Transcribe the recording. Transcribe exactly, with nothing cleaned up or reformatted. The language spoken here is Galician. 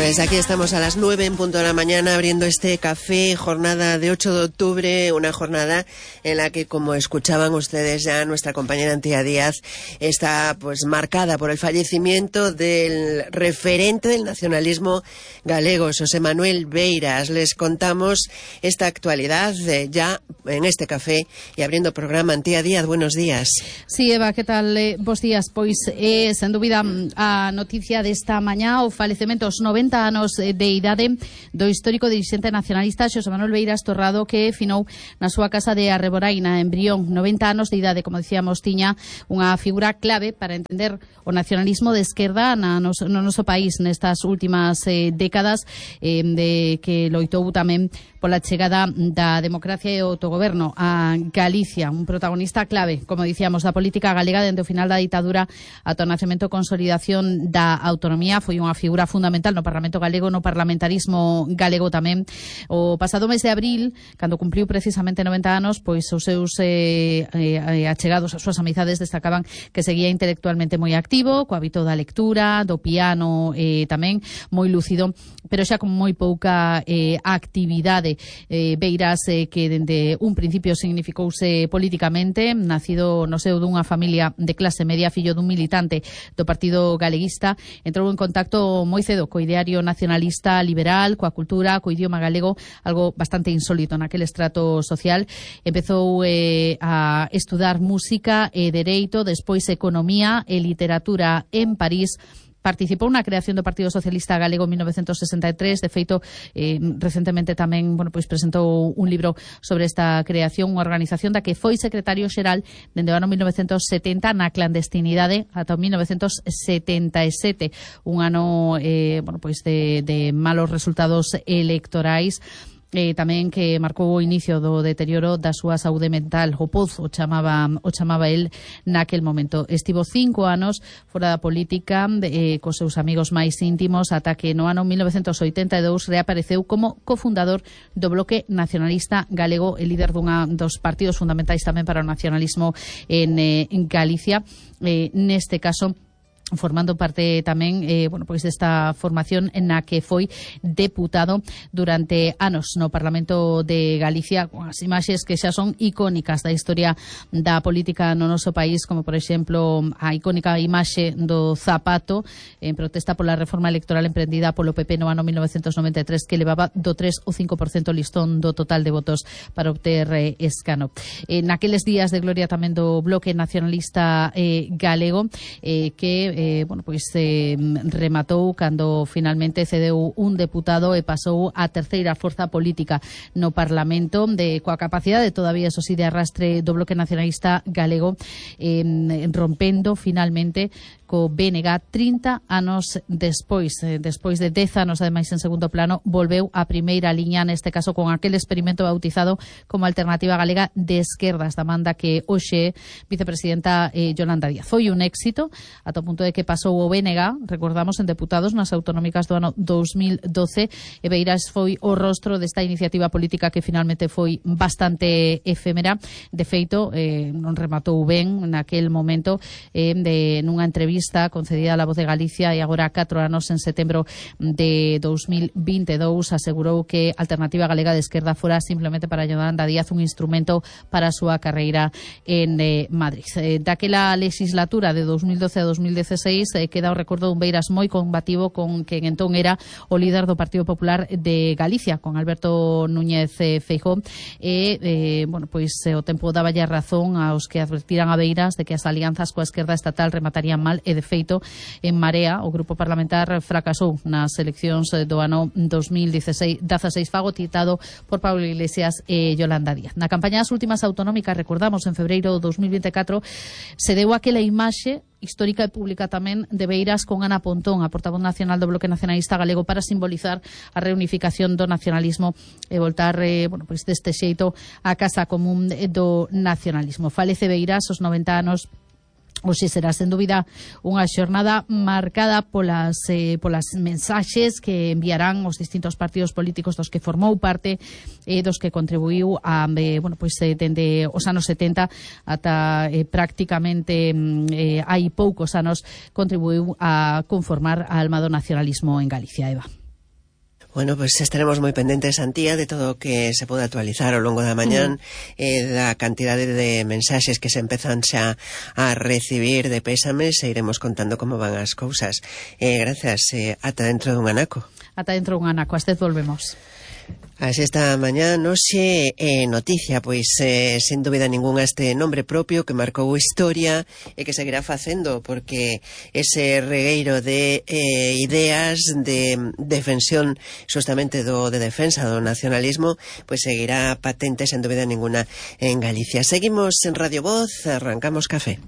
Pues aquí estamos a las nueve en punto de la mañana abriendo este café, jornada de ocho de octubre, una jornada en la que, como escuchaban ustedes ya, nuestra compañera Antía Díaz está pues marcada por el fallecimiento del referente del nacionalismo galego, Xosé Manuel Beiras. Les contamos esta actualidad eh, ya en este café y abriendo programa. Antía Díaz, buenos días. Sí, Eva, que tal? Eh, bos días. Pois, eh, sen dúbida, a noticia desta mañá, o falecemento aos noventa anos de idade do histórico dirixente nacionalista Xosé Manuel Beiras Torrado, que finou na súa casa de Arreboraina, en Brión. noventa anos de idade, como dicíamos, tiña unha figura clave para entender o nacionalismo de esquerda na nos, no noso país nestas últimas eh, décadas, eh, de que loitou tamén pola chegada da democracia e o autogoberno a Galicia, un protagonista clave, como dicíamos, da política galega dende o final da ditadura ata o nacemento e consolidación da autonomía. Foi unha figura fundamental no Parlamento galego, no parlamentarismo galego tamén. O pasado mes de abril, cando cumpliu precisamente noventa anos, pois os seus eh, eh, achegados, as súas amizades destacaban que seguía intelectualmente moi activo, co hábito da lectura, do piano, eh, tamén moi lúcido, pero xa con moi pouca eh, actividade. Eh, Beiras, eh, que dende un principio significouse políticamente, nacido no seo dunha familia de clase media, fillo dun militante do Partido Galeguista, entrou en contacto moi cedo co ideario nacionalista liberal, coa cultura, co idioma galego, algo bastante insólito naquel estrato social. Empezou eh, a estudar música e dereito, despois economía e literatura en París. Participou na creación do Partido Socialista Galego en mil novecentos sesenta e tres. De feito, eh, recentemente tamén, bueno, pois presentou un libro sobre esta creación, unha organización da que foi secretario xeral dende o ano mil novecentos setenta na clandestinidade ata o mil novecentos setenta e sete, un ano eh, bueno, pois de, de malos resultados electorais. Eh, tamén que marcou o inicio do deterioro da súa saúde mental. O pozo chamaba, o chamaba el naquel momento. Estivo cinco anos fora da política, eh, cos seus amigos máis íntimos, ata que no ano mil novecentos oitenta e dous reapareceu como cofundador do Bloque Nacionalista Galego e líder dunha dos partidos fundamentais tamén para o nacionalismo en, eh, en Galicia. Eh, neste caso, formando parte tamén eh, bueno, pois desta formación na que foi deputado durante anos no Parlamento de Galicia, con as imaxes que xa son icónicas da historia da política no noso país, como por exemplo a icónica imaxe do zapato en protesta pola reforma electoral emprendida polo P P no ano mil novecentos noventa e tres, que levaba do tres ao cinco por cento listón do total de votos para obter eh, escano. Eh, naqueles días de gloria tamén do Bloque Nacionalista eh, Galego, eh, que Eh, bueno, pois eh, rematou cando finalmente cedeu un deputado e pasou a terceira forza política no Parlamento, de coa capacidade todavía, eso sí, de arrastre do Bloque Nacionalista Galego, eh, rompendo finalmente co B N G trinta anos despois. Eh, despois de dez anos, ademais, en segundo plano, volveu a primeira liña, neste caso con aquel experimento bautizado como Alternativa Galega de Esquerdas, da manda que hoxe vicepresidenta eh, Yolanda Díaz. Foi un éxito, ata o punto de que pasou o B N G, recordamos, en deputados nas autonómicas do ano dous mil doce, e Beiras foi o rostro desta iniciativa política que finalmente foi bastante efémera. De feito, eh, non rematou ben naquel momento, eh, de nunha entrevista concedida a La Voz de Galicia, e agora catro anos, en setembro de dous mil vinte e dous, asegurou que Alternativa Galega de Esquerda fora simplemente para Yolanda Díaz un instrumento para a súa carreira en eh, Madrid. Eh, daquela legislatura de dous mil doce a dous mil dieciséis eh, queda o recordo dun Beiras moi combativo con quen entón era o líder do Partido Popular de Galicia, con Alberto Núñez eh, Feijóo, e eh, bueno, pois eh, o tempo daba ya razón aos que advertiran a Beiras de que as alianzas coa esquerda estatal rematarían mal, e de feito en Marea o grupo parlamentar fracasou nas eleccións do ano dous mil dieciséis, fagotitado por Pablo Iglesias e Yolanda Díaz. Na campaña das últimas autonómicas, recordamos, en febreiro de dous mil vinte e catro, se deu aquela imaxe histórica e pública tamén de Beiras con Ana Pontón, a portavoz nacional do Bloque Nacionalista Galego, para simbolizar a reunificación do nacionalismo e voltar, eh, bueno, pois deste xeito a casa común do nacionalismo. Falece Beiras aos noventa anos. Hoxe será, sen dúbida, unha xornada marcada polas, eh, polas mensaxes que enviarán os distintos partidos políticos dos que formou parte e eh, dos que contribuiu a, eh, bueno, pois, eh, dende os anos setenta ata eh, prácticamente eh, hai poucos anos contribuiu a conformar a alma do nacionalismo en Galicia, Eva. Bueno, pues estaremos moi pendentes, Antía, de todo o que se pode actualizar ao longo da mañán, mm. eh, da cantidade de mensaxes que se empezan xa a recibir de pésames, e iremos contando como van as cousas. Eh, gracias, eh, ata dentro dun anaco. Ata dentro dun anaco, hasta volvemos. Así esta mañá noxe eh, noticia, pois eh, sen dúbida ninguna este nombre propio que marcou historia e que seguirá facendo, porque ese regueiro de eh, ideas de defensión justamente do de defensa do nacionalismo, pois seguirá patente sen dúbida ninguna en Galicia. Seguimos en Radio Voz, arrancamos café.